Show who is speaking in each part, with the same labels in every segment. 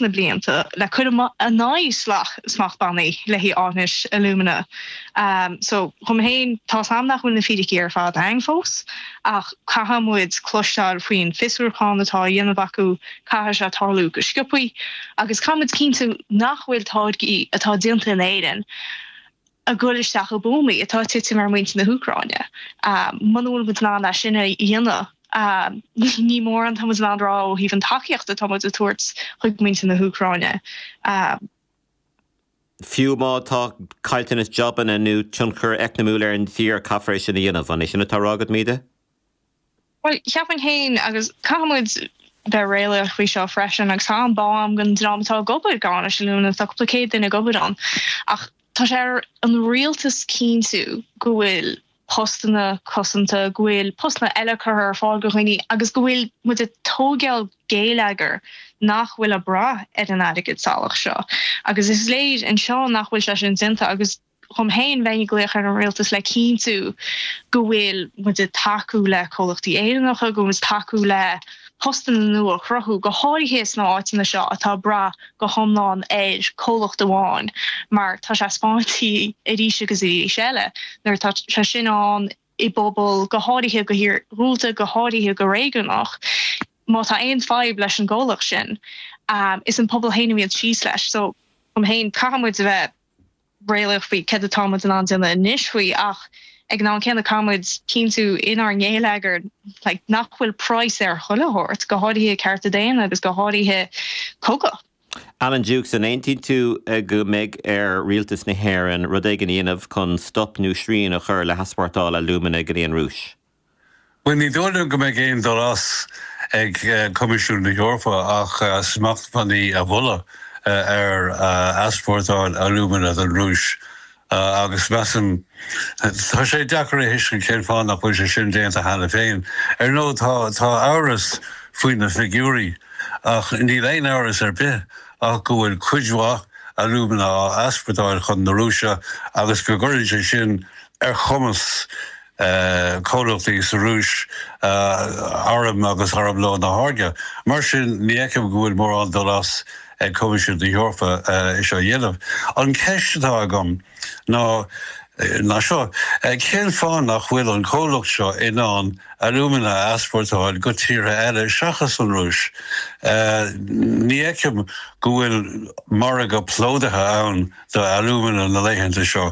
Speaker 1: sna blianta le cur in aghaidh smachtbhannaí le haghaidh áithnis alúmana. So, dhom féin, tá's a'm nach bhfuil na fíricí ar fad a'inn fós, ach caithfidh muid cloisteáil faoin fiosrúchán atá á dhéanamh acu, caithfidh sé tarlú go sciobthaí, agus caithfidh muid cinntiú nach bhfuil táirgí atá déanta in Éirinn ag goil isteach i buamaí atá ag titim ar mhuintir na hÚcráine. Muna bhfuil muid in ann é sin a dhéanamh, ní mórán atá muid in ann a rá ó thaobh an tacaíocht atá muid ag tabhairt chuig muintir na hÚcráine.
Speaker 2: Fiú má tá caillteanas jabanna nó tionchar eacnamúil ar an tír, caithfear é sin a dhéanamh. An é sin atá á rá agat, Míde?
Speaker 1: Bhuel, cheapfainn féin, agus caithfidh muid bheith réalaíoch faoi seo freisin, agus tá an-bhá agam don dream atá ag obair ag Áinis Alumina, tá cúpla céad duine ag obair ann, ach tá sé ar an rialtas cinntiú go bhfuil postanna cosanta, go bhfuil postanna eile curtha ar fáil do dhaoine agus go bhfuil muid ag tógáil géilleagar nach bhfuil ag brath ar an airgead salach seo. Agus is léir anseo nach bhfuil sé sin déanta agus. Dhom féin, bheinn ag glaoch ar an rialtas le cinntiú go bhfuil muid ag tacú le comhlachtaí Éireannacha, go bhfuil muid ag tacú le postanna nua a chruthú, go háirithe sna áiteanna seo atá ag brath go hiomlán ar comhlacht amháin, mar tá sé spáinte arís agus arís eile nuair atá sé sin ann i bpobal, go háirithe go hiargúlta, go háirithe go réigiúnach, má tá aon fadhb leis an gcomhlacht sin, is an pobal féin a bhíonn síos leis. So, dhom féin, caithfidh muid a bheith. réalaíoch faoi céard atá muid in ann déanamh anois faoi ach ag an am céanna caithfidh muid cinntiú inár ngéilleagar like nach bhfuil praghas ar chuile shórt, go háirithe cearta daonna agus go háirithe cogadh.
Speaker 2: Alan Dukes, an aontaíonn tú go mbeidh ar Rialtas na hÉireann rud éigin a dhéanamh chun stop nó srian a chur le heaspórtáil alúmana go dtí an Rúis?
Speaker 3: Bhuel, ní dóigh liom go mbeidh aon dul as ag Coimisiún na hEorpa ach smachtbhannaí a mholadh ar easpórtáil alúmana don Rúis agus measaim, tá sé deacair a thuiscint cén fáth nach bhfuil sé sin déanta cheana féin. Ar ndóigh, tá amhras faoi na figiúirí ach níl aon amhras ar bith ach go bhfuil cuid mhaith alúmana á easpórtáil chun na Rúise agus go gcuireann sé sin ar chumas comhlachtaí sa Rúis airm agus armlón a tháirgeadh. Mar sin, ní fheicim go bhfuil mórán dul as ag Coimisiún na hEorpa é seo a dhéanamh. An cheist atá agam ná ná seo, cén fáth nach bhfuil an comhlacht seo in ann alúmana a easpórtáil go tíortha eile seachas an Rúis? Ní fheicim go bhfuil margadh plódaithe ann do alúmana na laethanta seo.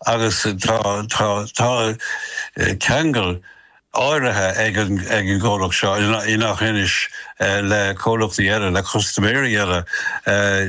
Speaker 3: Agus tá, tá, tá ceangal áirithe ag an, ag an gcomhlacht seo i nGach Inis le comhlachtaí eile, le custaiméirí eile,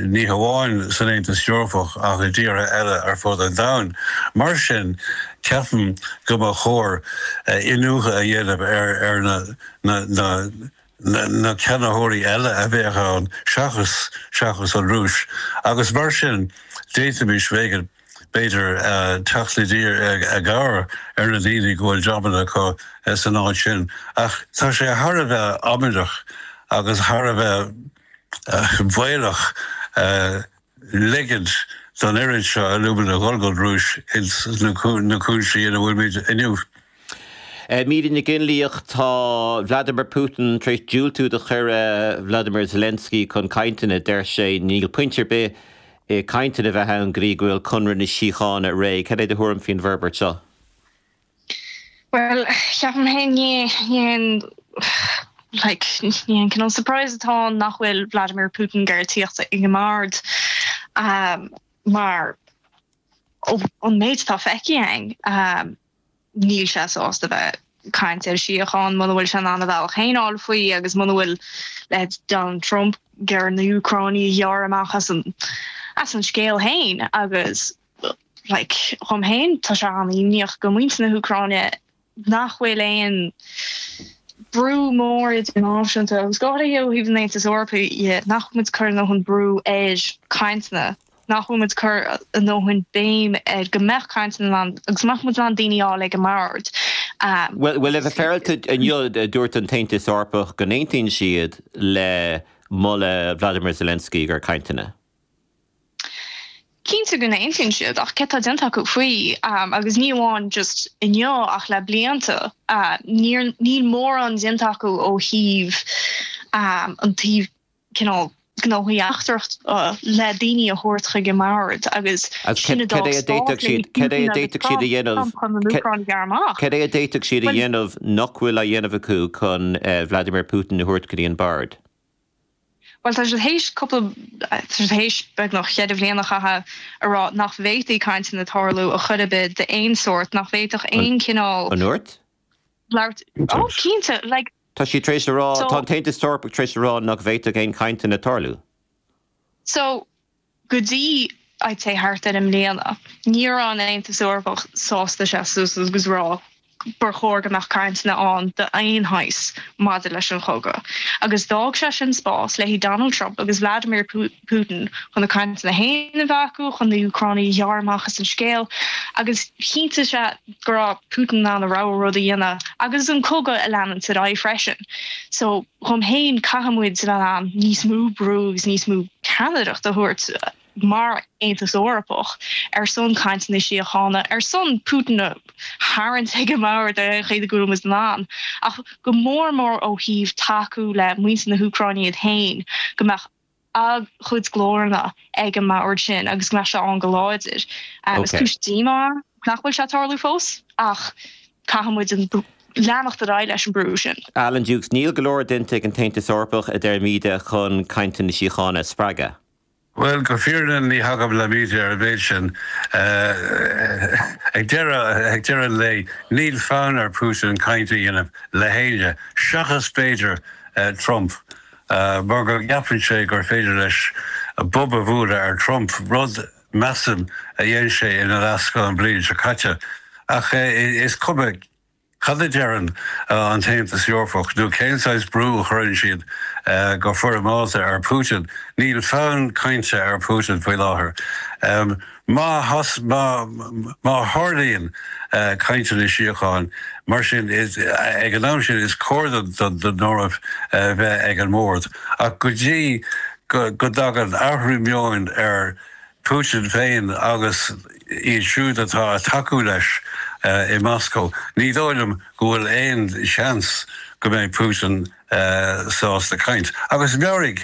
Speaker 3: ní hamháin san Aontas Eorpach ach i dtíortha eile ar fud an domhain. Mar sin, ceapaim go mba chóir iniúchadh a dhéanamh ar, ar na, na, na, na ceannaitheoirí eile a bheadh ann seachas, seachas an Rúis. Agus mar sin, d'fhéadfaimis, b'fhéidir, b'fhéidir, teacht i dtír i gcabhair ar na daoine go bhfuil jabanna acu san áit sin. Ach tá sé thar a bheith amaideach agus thar a bheith baolach ligint don oiread seo alúmana a dhul gon Rúis ins na cúinsí ina bhfuilimid inniu.
Speaker 2: Míde Nic Fhionnlaoich, Tá Vladimir Putin tar éis diúltú do chuireadh Vladimir Zelensky chun cainteanna. Deir sé níl pointe ar bith i cainteanna a bheith ann go dtí go bhfuil conradh na síochána réidh. Cad é do thuairim faoin bhforbairt seo?
Speaker 1: Bhuel, ceapaim féin ní haon like ní haon cineál surprise atá ann nach bhfuil Vladimir Putin ag iarraidh tíocht ag an mbord mar ón méid atá feicthe againn níl sé sásta bheith ag caint ar síocháin muna bhfuil sé in ann a bhealach féin a fháil faoi agus muna bhfuil leithéid Donald Trump ag iarraidh na hÚcránaigh a ghearradh amach as an as an scéal féin agus like dhom féin tá sé an-imníoch do mhuintir na hÚcráine nach bhfuil aon brú mór idirnáisiúnta agus go háirithe ó thaobh an Aontais Eorpaigh dhe, nach bhfuil muid ag cur a ndóthain brú ar cainteanna, nach bhfuil muid ag cur a ndóthain béim ar go mbeadh cainteanna ann agus go mbeadh muid in ann daoine a fháil ag an mbord.
Speaker 2: Bhuel, le bheith féaráilte, inniu dúirt an tAontas Eorpach go n-aontaíonn siad le moladh Vladimir Zelensky gur cainteanna.
Speaker 1: Cinnte go n-aontaíonn siad, ach céard tá déanta acu faoi? Agus ní amháin just inniu ach le blianta. Níl mórán déanta acu ó thaobh an taobh cineál. Gnóthaí Eachtracha le daoine a thabhairt chuig an mbord agus sin a d'fhág spás le
Speaker 2: Putin agus Trump chun an Úcráin a ghearradh amach. Cad é a d'fhéadfadh siad a dhéanamh nach bhfuil á dhéanamh acu chun Vladimir Putin a thabhairt go dtí an bord?
Speaker 1: Bhuel, tá siad théis cúpla, tá siad théis beagnach cheithre bhliain a chaitheamh a rá nach bhféadfaí cainteanna tarlú a chor ar bith d'aon sórt, nach bhféadfadh aon chineál.
Speaker 2: An ndúirt?
Speaker 1: Labhairt, oh cinnte, like.
Speaker 2: Tá siad tar éis a rá, tá an tAontas Eorpach tar éis a rá nach bhféadfadh aon chainteanna tarlú.
Speaker 1: So, go dtí, I'd say thart ar i mbliana, ní raibh an Aontas Eorpach sásta seasamh suas agus rá gur chóir go mbeadh cainteanna ann d'aon shaghas maidir leis an chogadh. Agus d'fhág sé sin spás le haghaidh Donald Trump agus Vladimir Putin chun a gcainteanna féin a bheith acu, chun na hÚcránaigh a ghearradh amach as an scéal. Agus chinntigh sé go raibh Putin in ann a rogha rud a dhéanamh agus an cogadh a leanúint ar aghaidh freisin. So, dhom féin, caithfidh muid a bheith in ann níos mó brú agus níos mó ceannaireacht a thabhairt mar Aontas Eorpach ar son cainteanna síochána, ar son Putin a tharraingt ag an mbord ar aon chaoi go bhfuil muid in ann, ach go mór mór ó thaobh tacú le muintir na hÚcráine iad féin, go mbeadh a gcuid glóranna ag an mbord sin agus go mbeadh sé ann go láidir. Is cúis díomá nach bhfuil sé ag tarlú fós ach caithfidh muid leanacht ar aghaidh leis an brú sin.
Speaker 2: Alan Dukes, Níl go leor déanta ag an tAontas Eorpach, a deir Míde, chun cainteanna síochána a spreagadh.
Speaker 3: Bhuel, go fírinneach ní thagaim le Míde ar an mhéid sin. Ag deireadh, ag deireadh an lae, níl fonn ar Putin caint a dhéanamh le héinne, seachas b'fhéidir Trump, mar go gceapann sé gur féidir leis bob a bhualadh ar Trump, rud, measaim, a dhein sé ina leathscáth an bhliain seo caite. Ach is cuma. Cad a deireann an tAontas Eorpach, nó cén saghas brú a chuireann siad go foirmeálta ar Putin? Níl fonn cainte ar Putin faoi láthair. Má má tharlaíonn cainteanna síocháin, mar sin, ag an am sin is cóir don Eoraip bheith ag an mbord. Ach go dtí go dtagann athrú meoin ar Putin féin agus iad siúd atá ag tacú leis i Moscó, ní dóigh liom go bhfuil aon seans go mbeidh Putin sásta caint. Agus meabhraigh,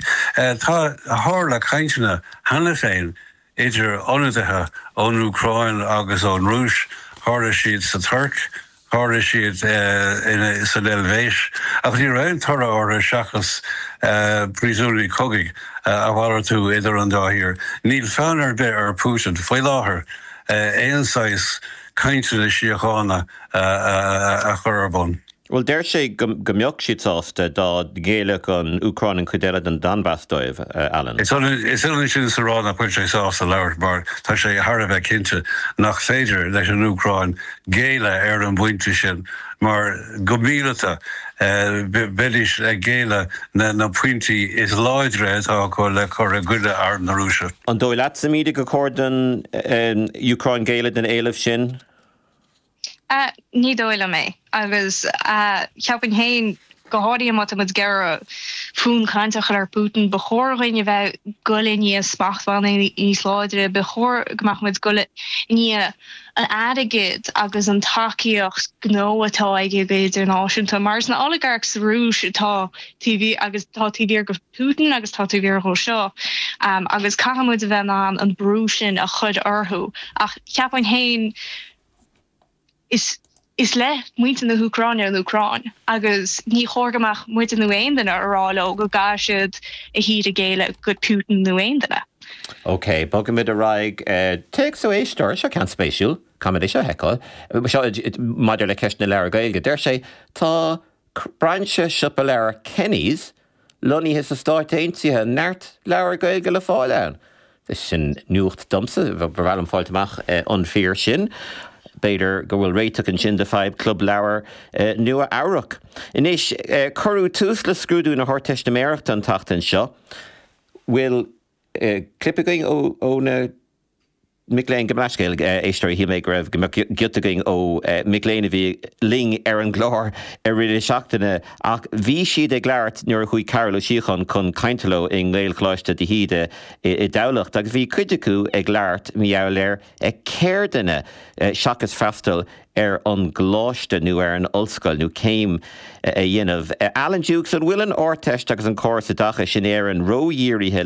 Speaker 3: tá, tharla cainteanna cheana féin idir ionadaithe ón Úcráin agus ón Rúis, tharla siad sa Tuirc, Tharla siad san Eilvéis, ach ní raibh aon toradh orthu seachas príosúnaigh cogaidh a mhalartú idir an dá thír. Níl fonn ar bith ar Putin faoi láthair aon saghas cainteanna síochána a chur ar bun.
Speaker 2: Bhuel, deir sé go mbeadh siad sásta dá ngéillfeadh an Úcráin an chuid eile den Donbas dóibh, Alan.
Speaker 3: Is ionann sin is a rá nach bhfuil sé sásta labhairt mar tá sé thar a bheith cinnte nach féidir leis an Úcráin géilleadh ar an bpointe sin mar go míleata bheidís ag géilleadh na pointí is láidre atá acu le cur i gcoinne arm na Rúise.
Speaker 2: An dóigh leatsa, Míde, gur chóir don Úcráin géilleadh don éileamh sin?
Speaker 1: Ní dóigh liom é. Agus cheapfainn féin, go háirithe má tá muid ag iarraidh fonn cainte a chur ar Putin, ba chóir dhuinn a bheith ag goil i ndiaidh smachtbhannaí níos láidre, ba chóir go mbeadh muid ag goil i ndiaidh an airgid agus an tacaíocht gnó atá aige go idirnáisiúnta. Mar is na oligarchs sa Rúis atá taobh thiar, agus tá taobh thiar de Putin agus tá taobh thiar dhó seo, agus caithfidh muid a bheith in ann an brú sin a chur orthu. Ach cheapfainn féin, Is is le muintir na hÚcráine an Úcráin agus ní chóir go mbeadh muide nó aon duine a rá leo go gcaithfidh siad a thír a ghéilleadh go Putin nó aon duine.
Speaker 2: OK, bogfaimid ar aghaidh. Téacs ó éisteoir, seo ceann spéisiúil, caithfimid é seo a fheiceáil. Seo maidir le ceist na leabhar Gaeilge. Deir sé, tá brainse siopa leabhar Kenny's lonnaithe sna Stáit Aontaithe, neart leabhar Gaeilge le fáil ann. Sin nuacht domsa, ba mhaith liom fáilt amach an fíor sin. B'fhéidir go bhfuil réiteach ansin do fadhb Club Leabhar Nua Eabhrac. Anois, cuireadh tús le scrúdú na hArdteistiméireachta an tseachtain seo. Bhfuil clip againn ó na. Mic léinn, gabh mo leithscéal, éisteoirí, shíl mé go raibh, go mbeadh giota againn ó mic léinn a bhí linn ar an gclár i rith na seachtaine ach bhí siad ag labhairt nuair a chuaigh Cearbhall Ó Síocháin chun cainte leo i nGaelcholáiste de hÍde i dTamhlacht agus bhí cuid acu ag labhairt mar gheall ar cheirdeanna seachas freastal. ar an gcoláiste nó ar an ollscoil nó céim a dhéanamh. Alan Dukes, an bhfuil an Ardteist agus an córas oideachais in Éirinn ródhírithe?